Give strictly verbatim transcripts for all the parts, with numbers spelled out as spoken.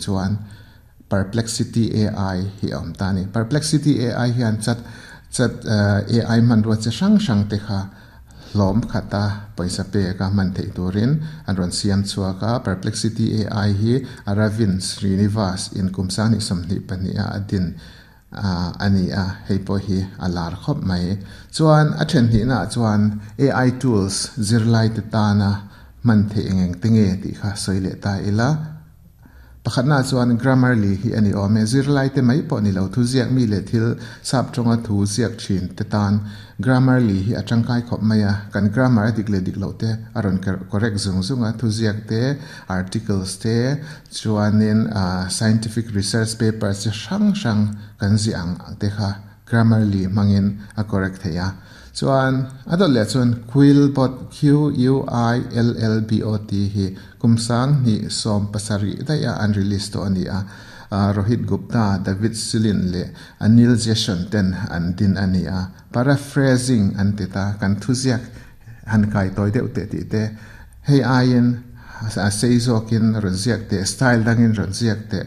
Chuan Perplexity A I hi awm ta ni. Perplexity A I hian chat chat A I man ro che hrang hrang te kha hlawm khata paisa pe ka man thei turin an rawn siam chhuaka. Perplexity A I hi Aravind Srinivas in kum sang sawmhnih pahnih a adin ani a. Hei pawh hi a lar khawp mai. Chuan a then hnih na chuan A I tools zirlai te tana man thei engeng tenge tih kha sawi leh ta ila. Pakhat na chuan Grammarly hi ani awm e. Zirlai te mai pawh ni lo, thu ziak mi leh thil sap tawnga thu ziak thin te tan Grammarly hi a tangkai khawp mai a. Kan grammar a dik leh dik lo te a rawn correct zung zung a. Thu ziak te, articles te, chuanin scientific research papers chi hrang hrang kan zi ang te kha Grammarly hmangin a correct thei a. Chuan a dawt leh chuan Quillbot, Q U I L L B O T hi kumsang ni som pasarih daia an release to ani a. Rohit Gupta, David Silin le Anil Jason ten an din ani a. Paraphrasing an ti ta, kan thuziak han kai toy deuh te ti te, hei aiin a sei zawkin rawn ziak te, style dangin rawn ziak te,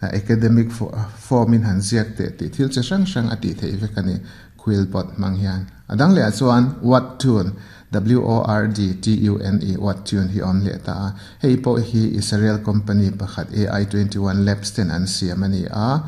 academic form in han ziak te ti thil che hrang hrang a ti thei vek ani Quillbot mang hian. Adang leh chuan Wordtune, W O R D T U N E, Wordtune hi awm leh ta a. Hei pawh hi Israel company pakhat A I twenty-one Labs ten an siam ani a.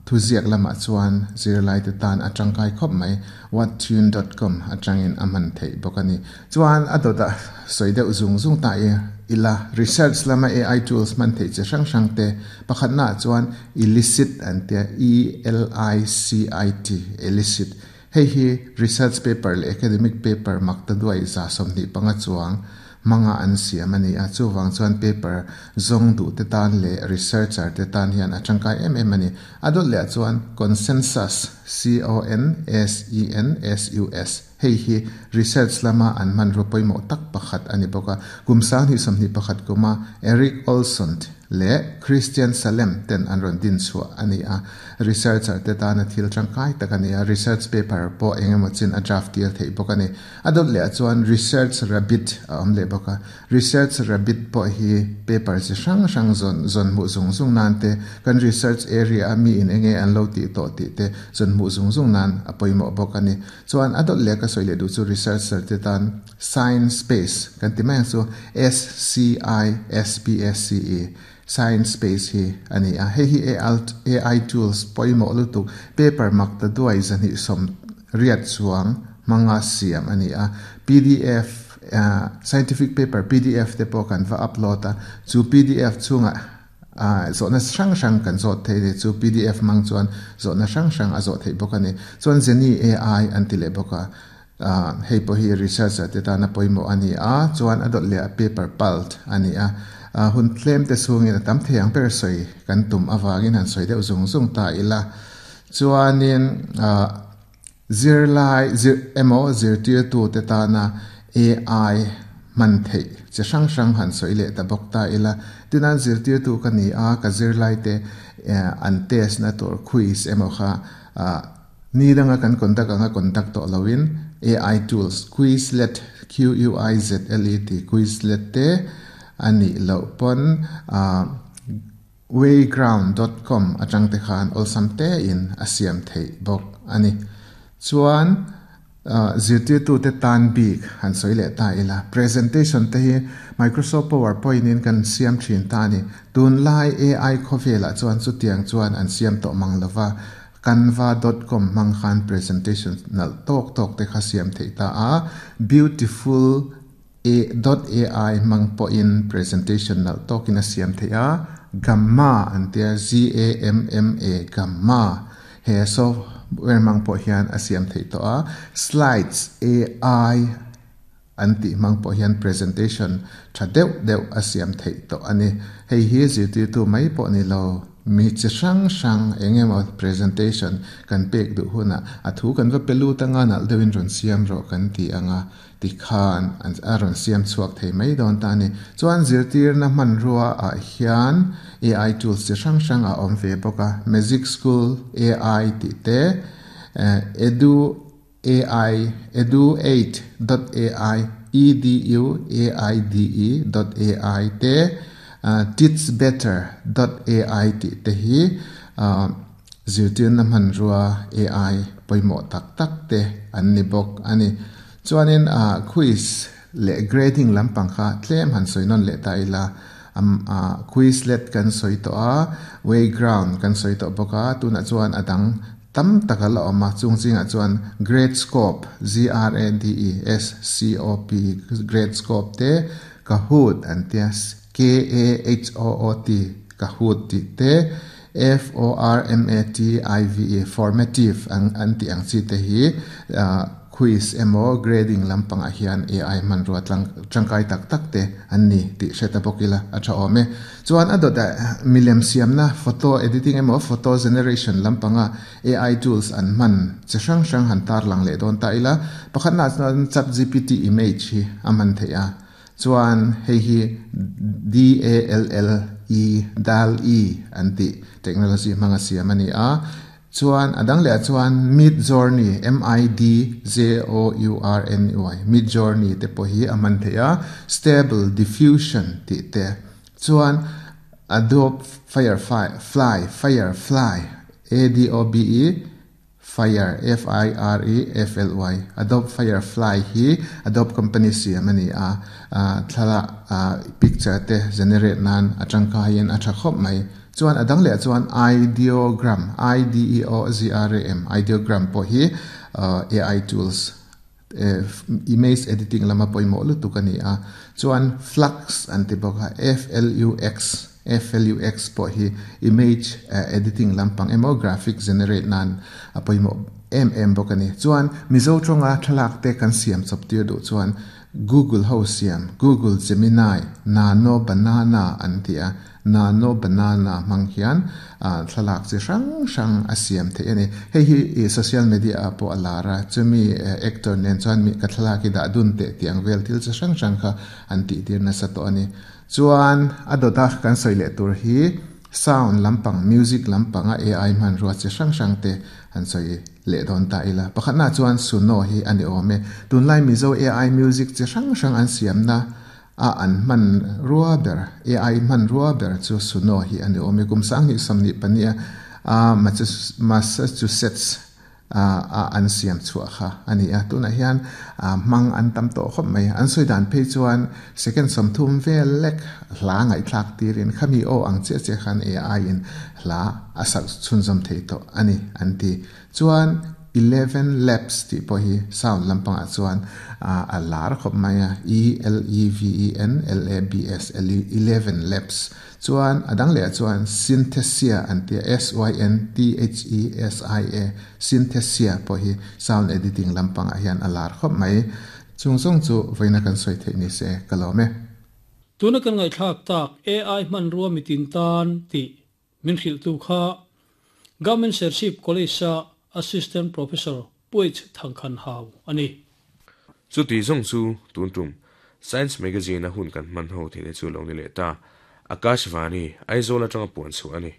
Thuziak lamah chuan zirlai te tan a tangkai khawp mai. wordtune dot com atangin a man thei bawk ani. Chuan a dawta sawi deuh zung zung ta i ila, research lama A I tools man thei che hrang hrang te. Pakhat na chuan Elicit an tia, E L I C I T, Elicit. Hei hi research paper leh academic paper makta duai za sawmhnih panga chuang manga an siam ani a. Chuwang chuan paper zong du te tan leh researcher te tan hian a tangkai em em ani. Adol leh chuan Consensus, C O N S E N S U S. Hei hi research lama an man ro poimo tak pakhat ani boka. Kumsang hi sawmhnih pakhat kuma Eric Olson le Christian Salem ten an ron din chu ani a. Researcher te tana thil tangkai tak ani a. Research paper pawh engemaw chin a draft tir thei bawk ani. Adot leh chuan Research Rabbit a awm leh bawk a. Research Rabbit pawh hi paper chi hrang hrang zon zon mu zung zung nan te, kan research area a mi in enge an lo ti to ti te zon mu zung zung nan a pawimawh bawk ani. Chuan adot leh ka sawi leh du chu researcher te tan SciSpace kan ti mai chu, S C I S P S C E, SciSpace hi ani a. Hei hi A I tools pawimawh lutuk, paper makta duai zani som riat chuang manga siam ani a. P D F, uh, scientific paper P D F te pawh kan va upload a. Chu P D F chunga uh, zawhna hrang hrang kan zawt thei le, chu P D F mang chuan zawhna hrang hrang a zawh thei bawk ani. Chuan Zeni A I an ti leh bawk a. uh, hei pawh hi researcher te tana pawimawh ani a. Chuan a dawt leh a Paperpal ani a. uh, hun tlem te chungin a tam thei ang ber sawi kan tum awangin han sawi deuh zung zung ta ila. Chuanin uh, zirlai zir emaw zirtir tu te tana A I man thei che hrang hrang han sawi leh ta bawk ta ila. Tinan zirtir tu ka ni a, ka zirlai te an test na tur quiz emaw kha ni danga kan conduct anga conduct to lowin A I tools Quizlet, Q U I Z L E T, Quizlet te ani lo pon wayground dot com atang te khan awlsam te in a siam thei bawk ani. Chuan zirtir tu te tan bik han sawi leh ta ila. Presentation te hi Microsoft PowerPoint in kan siam thin ta ni. Tun lai A I khawvelah chuan chu tiang chuan an siam tawh mang lova. canva dot com mang khan presentation nal tok tok te kha siam thei ta a. Beautiful a dot A I mang po in presentation nal tok in a siam thei a. Gamma an tia, G A M M A, Gamma he software mang po hian a siam thei to a. Slides A I an ti mang po hian presentation tha deuh deuh a siam thei to ani. Hei hi zirtir tu mai pawh ni lo, mi chi hrang hrang engemaw presentation kan pek duh huna a thu kan va pelu tanga nal deuhin rawn siam rawh kan ti anga, ti khan an a rawn siam chhuak thei mai dawn ta ani. Chuan zirtir na hman rua ah hian A I tools chi hrang hrang a awm ve bawk a. Magic School A I tih te, Edu A I, edu eight dot A I, E D U A I D E dot A I te. Teach Better dot A I tih te hi zirtirna hmanrua A I pawimawh tak tak te an ni bawk ani. Chuanin quiz leh grading lampang kha tlem han sawi nawn leh ta ila. Quizlet kan sawi tawh a, Wayground kan sawi tawh bawk a, tunah chuan a dang tam tak a la awm a, chung zingah chuan Gradescope, G R A D E S C O P, Gradescope te, Kahoot an tia, K A H O O T, Kahoot tih te, F O R M A T I V E, Formative ang an tih ang chi te hi quiz emaw grading lampangah hian A I hmanrua tlang tangkai tak tak te an ni tih hre ta bawk ila a tha awm e. Chuan a dawtah milem siamna, photo editing emaw photo generation lampanga A I tools an hman chi hrang hrang han tar lang leh dawn ta ila. Pakhatna chuan Chat G P T image hi a man theih a, chuan hei hi D A L L E, DALL E an tih technology hmanga siam ani a. Chuan adang leh chuan Midjourney, M I D J O U R N Y, Midjourney te pawh hi a man theih a, Stable Diffusion tih te, chuan Adobe Firefly, Fly, Firefly, A D O B E Fire, F I R E F L Y, Adobe Firefly hi Adobe company siam ani a, thlalak picture te generate nan atangka hian a tha khawp mai. Chuan adang leh chuan Ideogram, I D E O G R A M, Ideogram pawh hi A I tools image editing lama pawimawh lutuk ani a. Chuan Flux an ti bawk a, F L U X, F L U X pawh hi image editing lampang emaw graphic generate nan a pawimawh em em bawk ani. Chuan Mizo tawnga thlalak te kan siam chawp tir duh chuan Google ho siam Google Gemini Nano Banana an ti a, Nano Banana hmang hian thlalak chi hrang hrang a siam theih ani. Hei hi social media ah pawh a lar a, chumi actor nen chuan mi ka thlalak hi dah dun teh tiang vel thil chi hrang hrang kha an tih tir nasa tawh ani. Chuan a dawta kan sawi leh tur hi sound lampang, music lampanga A I hmanrua chi hrang hrang te an sawi leh dawn ta ila. Pakhatna chuan Suno hi ani awm e. Tunlai Mizo A I music chi hrang hrang an siamna a an hman rua ber, A I hman rua ber chu Suno hi ani awm e. Kum sang hnih sawmhnih pahnih a Massachusetts a an siam chhuah kha ani a. Tunah hian hmang an tam tawh khawp mai. An sawi dan phei chuan second sawmthum vel lek hla ngaihthlak tirin khami aw ang chiah chiah khan A I in hla a sak chhunzawm thei tawh ani an ti. Chuan Eleven Labs tih pawh hi sound lampangah chuan a lar khawp mai a, E L E V E N L A B S, Eleven Labs. Chuan adang leh chuan Synthesia an tia, S Y N T H E S I A, Synthesia pawh hi sound editing lampangah hian a lar khawp mai. Chung zawng chu vawiina kan sawi theih ni se ka lawm e. Tuna kan ngaihthlak tak A I hmanrua mitin tan tih min hrilh tu kha Government Serchhip College a Assistant Professor Puaich Thangkhan Hau ani. Chuti zawng chu tun tum Science Magazine a hun kan hman ho thei te chu lo ni leh ta. Akashvani Aizawl atanga puan chhuah ani.